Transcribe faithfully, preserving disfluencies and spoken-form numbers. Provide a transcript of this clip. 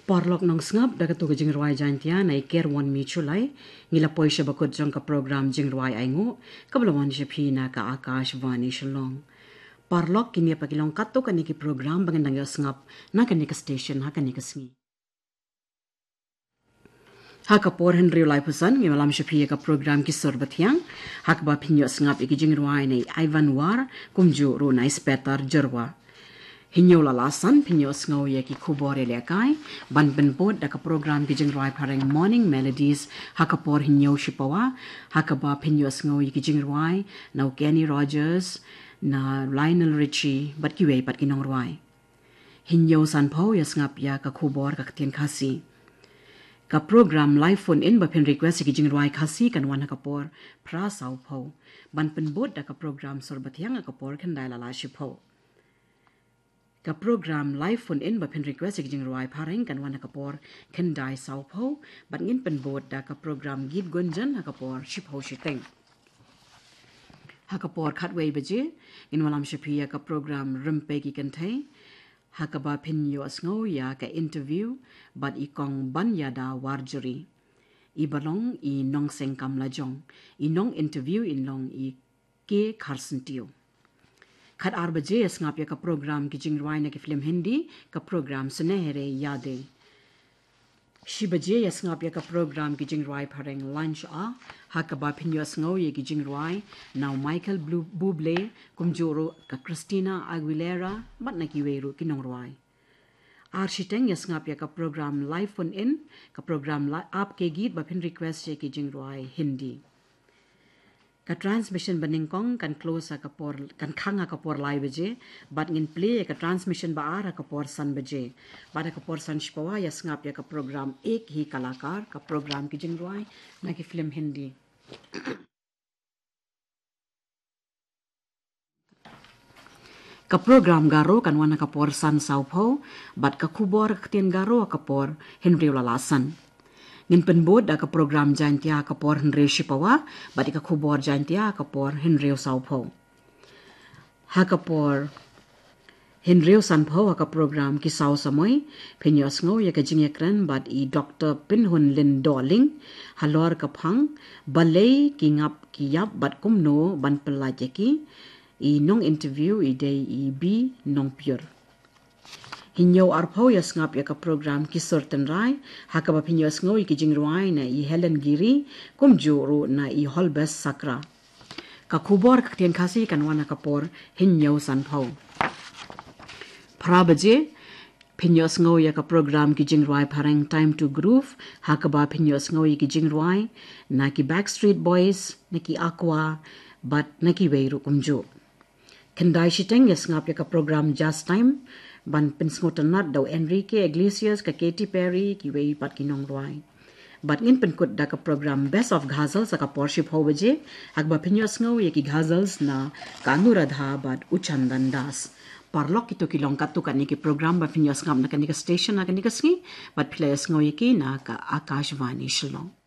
Paralok nongsngap, da katu ka jingrwai Jaintia na i Ker Won Mi Chulai, ngi la poi sha bakut jong ka program jingrwai Ainguh, kaba la wan sha phi na ka Akashvani Shillong. Paralok, kine pat ki long katto katne ki program ba ngin dang ïohsngap na kane ka station ha kane ka sngi. Ha ka por hynriew laiphew san, ngin wallam sha phi ïa ka program Ki Sur Bathiang, ha kaba phin ïohsngap ïa ki jingrwai na i Ivan War, kumjuh ruh na i Spetar Jyrwa. Hynñiew la la san, phin ïohsngew ïa ki khubor ïalehkai, ban pynbud da ka program ki jingrwai phareng Morning Melodies, ha ka por hynñiew shipawa, ha kaba phin ïohsngew ïa ki jingrwai na u Kenny Rogers, na Lionel Richie, bad kiwei pat ki nongrwai. Hynñiew sanphew, ïohsngap ïa ka khubor ka ktien Khasi. Ka program live phone in ba phin request ïa ki jingrwai Khasi kan wan ha ka por phra sawphew. Ban pynbud da ka program Sur Bathiang ha ka por khyndai la la shiphew. Ka program live phone in ba phin request ïa ki jingrwai phareng kan wan ha ka por khyndai sawphew, bad ngin pynbud da ka program Geet Gunjan ha ka por shiphew shiteng. Ha ka por khatwei baje, ngin wallam sha phi ïa ka program Rympei ki Kynthei, ha kaba phin ïohsngew ïa ka interview bad i Kong Baniada Warjri. I ba long i nongsengkam lajong, i nong interview in long i K Kharsyntiew. Khatar baje, ïohsngap ïa ka program ki jingrwai na ki film Hindi, ka program Sunehere Yaadein. Shi baje, ïohsngap ïa ka program ki jingrwai phareng Lunch Hour, ha kaba phin ïohsngew ïa ki jingrwai na u Michael Blu-, Bublé, kumjuh ruh ka Christina Aguilera, bad na kiwei ruh ki nongrwai. Ar shiteng, ïohsngap ïa ka program live phone in, ka program la-, Aap Ke Geet ba phin request ïa ki jingrwai Hindi. Ka transmission ba nyngkong kan close ha ka por, kan khang ha ka por lai baje, bad ngin plie ïa ka transmission ba ar ha ka por san baje. Bad ha ka por san shipawa, ïohsngap ïa ka program Ek Hi Kalakar, ka program ki jingrwai na ki film Hindi. Ka program Garo kan wan ha ka por san sawphew, bad ka khubor ka ktien Garo ha ka por hynriew la la san. Ngin pynbud da ka program Jaintia ha ka por hynriew shipawa, bad ïa ka khubor Jaintia ha ka por hynriew sawphew. Ha ka por hynriew sanphew, ha ka program Ki Saw Samoi, phin ïohsngew ïa ka jingïakren bad i Doktor Pinhunlin Dohling, halor ka phang, balei ki ngap ki ïap bad kumno ban pyllait ïa ki, i nong interview i dei i B Nongpyur. Hynñiew arphew, ïohsngap ïa ka program Ki Sur Tynrai, ha kaba phin ïohsngew ïa ki jingrwai na i Helen Giri, kumjuh ruh na i Holbest Sakra. Ka khubor ka ktien Khasi kan wan ha ka por hynñiew sanphew. Phra baje, phin ïohsngew ïa ka program ki jingrwai phareng Time to Groove, ha kaba phin ïohsngew ïa ki jingrwai na ki Backstreet Boys, na ki Aqua, bad na kiwei ruh kumjuh. Khyndai shiteng, ïohsngap ïa ka program Jazz Time, ban pynsngewtynnat da u Enrique Iglesias, ka Katy Perry, kiwei pat ki nongrwai. Bad ngin pynkut da ka program Best of Ghazals ha ka por shiphew baje, ha kaba phin ïohsngew ïa ki ghazals na ka Anuradha bad u Chandan Das. Paralok, kito ki long katto katne ki program ba phin ïohsngap na kane ka station ha kane ka sngi, bad phi la ïohsngew ïa ki na ka Akashvani Shillong.